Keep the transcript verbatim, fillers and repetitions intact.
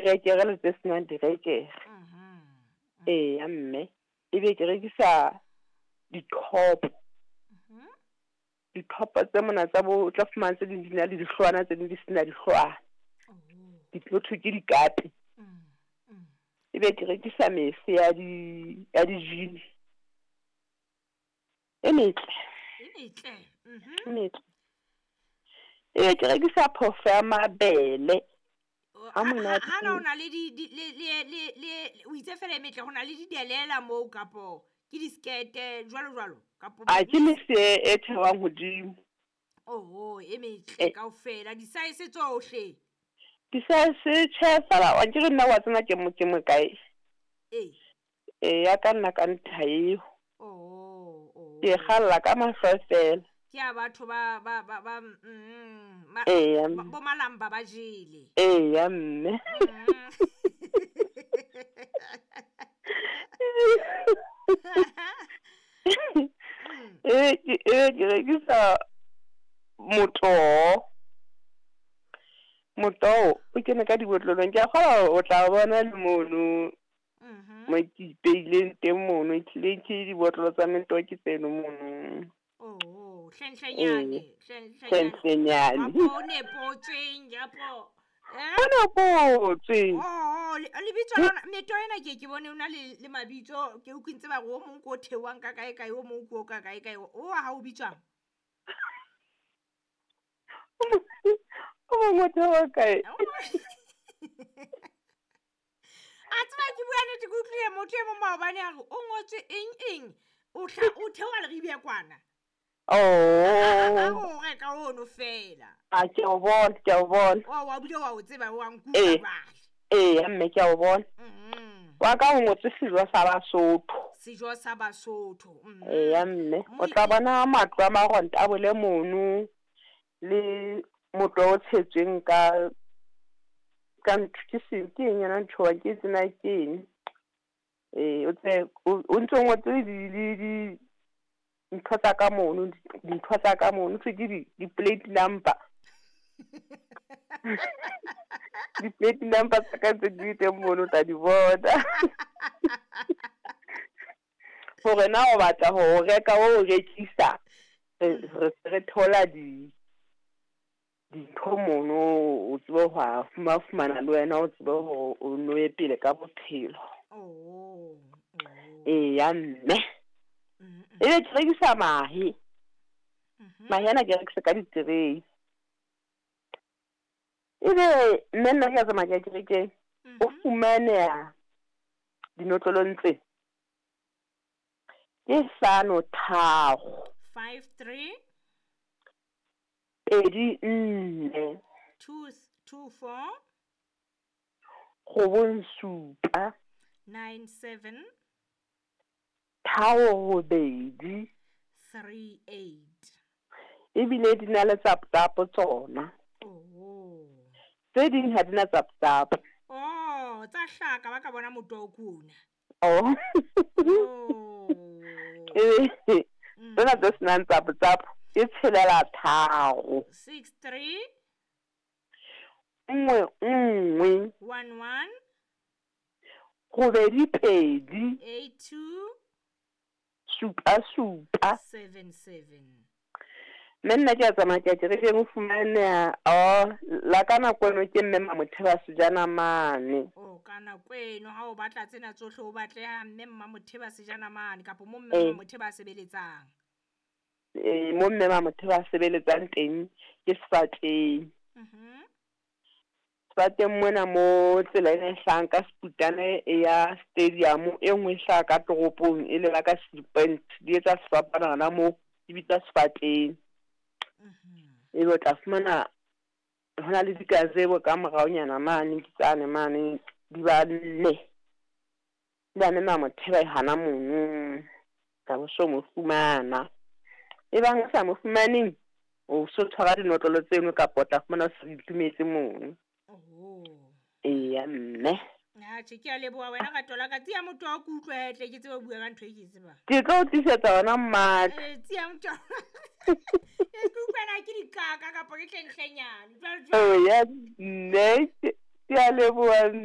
direkere le tse senang direkere. Mhm. Eya mme, ebe ke rekisa dithopo. Mhm. Dithopo tse mona tsa bo, o tla fumana tse ding di na le dihloohwana, tse ding di sena dihloohwana. Oh. Di ho thwe ke dikapi. Mm. Mm. Ebe ke rekisa mese ya di, ya di-jean. E metle. E metle. Mhm. E metle. Ebe ke rekisa phofo ya mabele. O- Ha ha- monate. ha na o na le di, di, le, le, le, le, o itse fela e metle, ho na le didelela moo kapo ke diskete jwalo jwalo kapo A ke mese e theohang hodimo. Oho, e metle Eh. kaofela, di-size tsohle. Di-size tjhe fela, wa nkere nna wa tsena ke mo, ke mo kae? Ee. E ya ka nna ka ntha eo. Oh, oh. Ke kgalla ka mahlo fela. Ke a batho ba, ba, ba, ba, mm, ma, Eya, ba, bo malamba ba jele. Eya mme. Mm. E ke, e ke rekisa motoho. Motoho o kene ka dibotlolong. Ke a kgolwa o tla bona le mono Mhm. mo ke ipeileng teng mono. Ehlile ke dibotlolo tsa metoho ke tseno mono. Oh, hlenhlenyane, Ee. hlenhlenyane. Hlenhlenyane. Kapo o nepotsweng, kapo, eh? O nepotswe. Oh, le, lebitso la lona, metoho ena ke ke bone o na le, le mabitso, ke utlwe ntse ba re o mong ke o theohang ka kae kae, o mong ke o ka kae kae. O wa hao o bitswang? O mong o theoha kae? A tseba ke bua nnete, ke utlwile motho e mong maobane a re o ngotswe eng eng, o hla, o theoha Leribe kwana. Oh. A o reka ono fela. A ke o bona, ke o bona. O wa bile wa o tseba, wa nkutlwa Ee. jwale. Ee, mme ke a o bona. Mhm. Wa ka o ngotswe sejo sa Basotho. Sejo sa Basotho. Mhm. Eya mme, o Mo- tla bona matlo a maronta a bole mono le motlo o tshetsweng ka, ka ntho, ke se, ke eng yona ntho wa, ke tsena ke eng? Ee, o tse, o, o ntso ngotswe di, di, di ntho tsa ka mono, dintho tsa ka mono, thwe ke di, di-plate number. Di-plate number tsa ka tse di teng mono, o tla di bona. Hore na o batla ho reka, o rekisa, re, re, re thola di, dintho mono, o tsebe ho a fuma-, fumana le wena, o tsebe hore o no ye pele ka bophelo. Oh, oh. Eya mme. Mm-mm. Ebe ke rekisa mahe. Mhm. Mahe ana ke rekisa ka di-tray. Ebe mme nna ke a tsamaya ke ya kerekeng, o Mhm. fumaneha dinotlolong tse. Ke hlano tharo. Five three. Pedi nne. Two, two four. Robong supa. Nine seven. Tharo robedi. Three eight. Ebile di na le tsaptsapo tsona. Oh. Tse ding ha di na tsaptsapo. Oh, tsa hlaka ba ka bona motoho ke ona. Oh. Oh. Eh, Mm. tsena tse senang tsaptsapo ke tshelela tharo. Six three. Nngwe nngwe. One one. Robedi pedi. Eight two. Supa supa. Seven seven. Mme nna ke a tsamaya ke ya kerekeng, o fumaneha, oh, la ka nako eno ke mme Mmamotheba Sejana mane. Oh, ka nako eno ha o batla tsena tsohle o batleha mme Mmamotheba Sejana mane kapo mo mme Eh. Mmamotheba a sebeletsang. Eh, mo mme Mmamotheba a sebeletsang teng ke Sefateng. Mhm. Sefateng mona mo tsela ena e hlahang ka Seputane e ya stadium, e nngwe e hlaha ka toropong e leba ka Seapent, di etsa sefapano hona moo, di bitsa Sefateng. Mhm. Ebe o tla fumana hona le dikazebo ka moraonyana mane, ke tsane mane, di ba nne. Di ba nne Mmamotheba e hana mono, ka bo so mo fumana. Ebang o sa mo fumaneng, o so tshwara dinotlolo tseno kapa o tla fumana o se di itumetse mono. Oh. Eya mme. Atjhe, ke a leboha wena ka tola ka tsia motho wa ke utlwe hetle, ke tsebe ho bua ka ntho e ke e tsebang. Ke tlo o tlisetsa yona mmaka. Eh, tsia motho. Eh, ke utlwa na ke dikaka kapa ke hlenhlenyane. Jwale, jwale. Oh, ya mme, ke a leboha mme.